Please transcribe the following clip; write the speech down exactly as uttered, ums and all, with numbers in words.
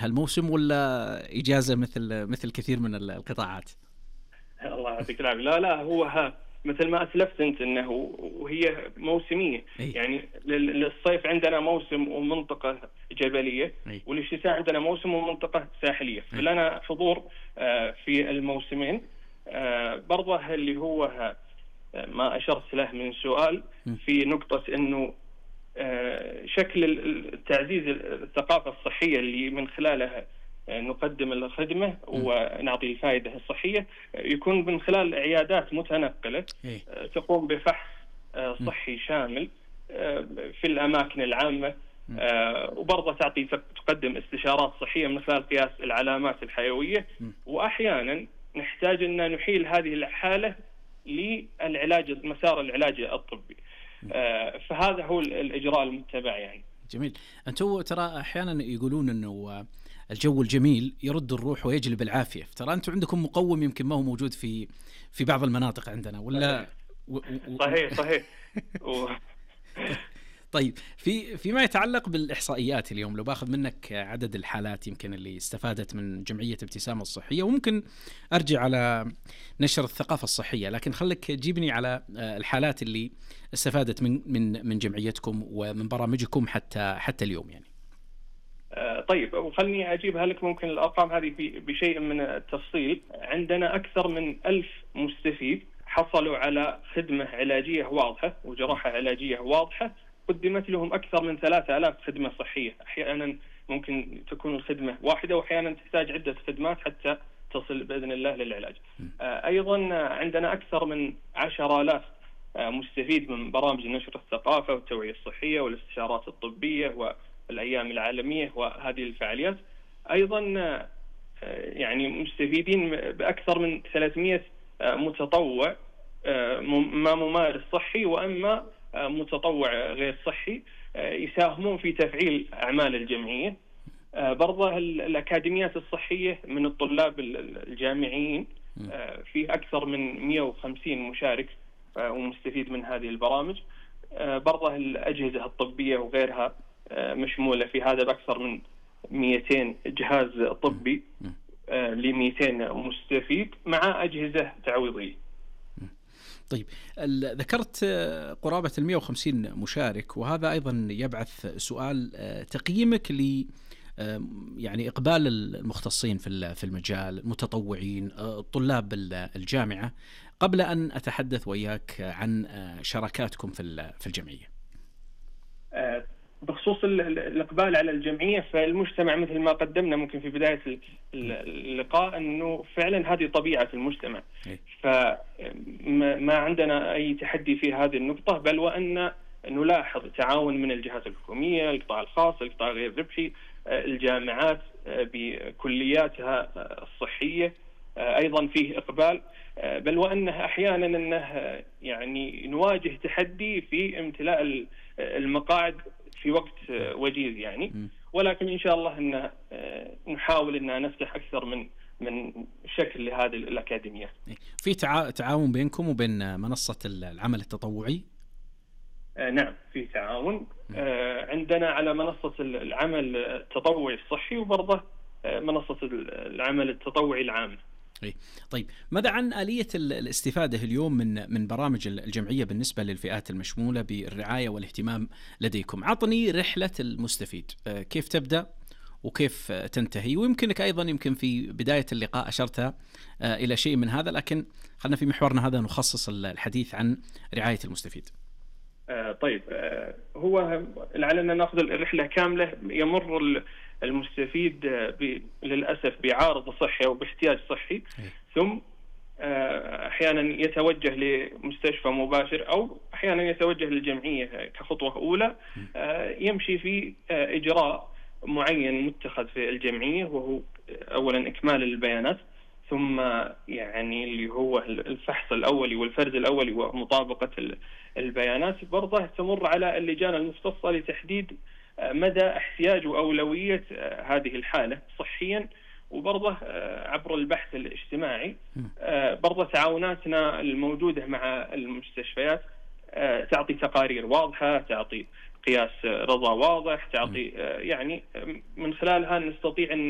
هالموسم ولا إجازة مثل مثل كثير من ال القطاعات؟ الله يعطيك العافية. لا لا هو ها مثل ما أسلفت أنت أنه وهي موسمية. أي. يعني لل- للصيف عندنا موسم ومنطقة جبلية، أي. وللشتاء عندنا موسم ومنطقة ساحلية، أي. فلنا حضور آه، في الموسمين. آه، برضه اللي هو ها آه، ما أشرت له من سؤال م. في نقطة أنه آه، شكل ال- التعزيز الثقافة الصحية اللي من خلالها آه، نقدم الخدمة ونعطي الفائدة الصحية، آه، يكون من خلال عيادات متنقلة إيه. آه، تقوم بفحص آه، صحي شامل آه، في الأماكن العامة، آه، وبرضه تعطي تقدم استشارات صحية من خلال قياس العلامات الحيوية، م. وأحيانا نحتاج أن نحيل هذه الحالة للعلاج، مسار العلاج الطبي. آه، فهذا هو ال- الإجراء المتبع يعني. جميل. أنتم ترى أحيانا يقولون أنه الجو الجميل يرد الروح ويجلب العافية، ترى أنتم عندكم مقوم يمكن ما هو موجود في في بعض المناطق عندنا ولا؟ و... و... و... صحيح صحيح. و... طيب في فيما يتعلق بالإحصائيات اليوم، لو باخذ منك عدد الحالات يمكن اللي استفادت من جمعية ابتسامة الصحية، وممكن أرجع على نشر الثقافة الصحية، لكن خليك جيبني على الحالات اللي استفادت من من من جمعيتكم ومن برامجكم حتى حتى اليوم يعني. آه، طيب وخلني أجيبها لك ممكن الأرقام هذه بشيء من التفصيل. عندنا أكثر من ألف مستفيد حصلوا على خدمة علاجية واضحة وجراحة علاجية واضحة، قدمت لهم أكثر من ثلاثة آلاف خدمة صحية. أحيانا ممكن تكون الخدمة واحدة وأحيانا تحتاج عدة خدمات حتى تصل بإذن الله للعلاج. آه، أيضا عندنا أكثر من عشر آلاف آه، مستفيد من برامج نشر الثقافة والتوعية الصحية والاستشارات الطبية والأيام العالمية وهذه الفعاليات. أيضا آه، يعني مستفيدين بأكثر من ثلاثمئة آه، متطوع، آه، ما ممارس صحي وأما آه، متطوع غير صحي، آه، يساهمون في تفعيل أعمال الجمعية. آه، برضه الأكاديميات الصحية من الطلاب الجامعيين، آه، في أكثر من مئة وخمسين مشارك آه، ومستفيد من هذه البرامج. آه، برضه الأجهزة الطبية وغيرها آه، مشمولة في هذا بأكثر من مئتين جهاز طبي آه، ل مئتين مستفيد مع أجهزة تعويضية. طيب ذكرت قرابة المئة وخمسين مشارك، وهذا أيضا يبعث سؤال تقييمك ل يعني إقبال المختصين في في المجال، المتطوعين، طلاب الجامعة، قبل أن أتحدث وياك عن شراكاتكم في في الجمعية. بخصوص الإقبال على الجمعية، فالمجتمع مثل ما قدمنا ممكن في بداية اللقاء أنه فعلا هذه طبيعة المجتمع، فما عندنا أي تحدي في هذه النقطة، بل وأن نلاحظ تعاون من الجهات الحكومية، القطاع الخاص، القطاع غير الربحي، الجامعات بكلياتها الصحية، أيضا فيه إقبال، بل وأنه أحيانا أنه يعني نواجه تحدي في امتلاء المقاعد في وقت وجيز يعني، ولكن إن شاء الله أن نحاول أن نفتح أكثر من من شكل لهذه الأكاديمية. في تعاون بينكم وبين منصة العمل التطوعي؟ نعم في تعاون عندنا على منصة العمل التطوعي الصحي وبرضه منصة العمل التطوعي العام. طيب ماذا عن آلية الاستفادة اليوم من من برامج الجمعية بالنسبة للفئات المشمولة بالرعاية والاهتمام لديكم؟ عطني رحلة المستفيد، كيف تبدأ وكيف تنتهي؟ ويمكنك أيضا يمكن في بداية اللقاء أشرت إلى شيء من هذا، لكن خلنا في محورنا هذا نخصص الحديث عن رعاية المستفيد. طيب هو لعلنا نأخذ الرحلة كاملة. يمر المستفيد للأسف بعارض صحي أو باحتياج صحي، ثم أحيانا يتوجه لمستشفى مباشر أو أحيانا يتوجه للجمعية كخطوة أولى، يمشي في إجراء معين متخذ في الجمعية، وهو أولا إكمال البيانات، ثم يعني اللي هو الفحص الأولي والفرز الأولي ومطابقة البيانات. برضه تمر على اللجان المختصة لتحديد مدى احتياج وأولوية هذه الحالة صحيا، وبرضه عبر البحث الاجتماعي. برضه تعاوناتنا الموجودة مع المستشفيات تعطي تقارير واضحة، تعطي قياس رضا واضح، تعطي يعني من خلالها نستطيع أن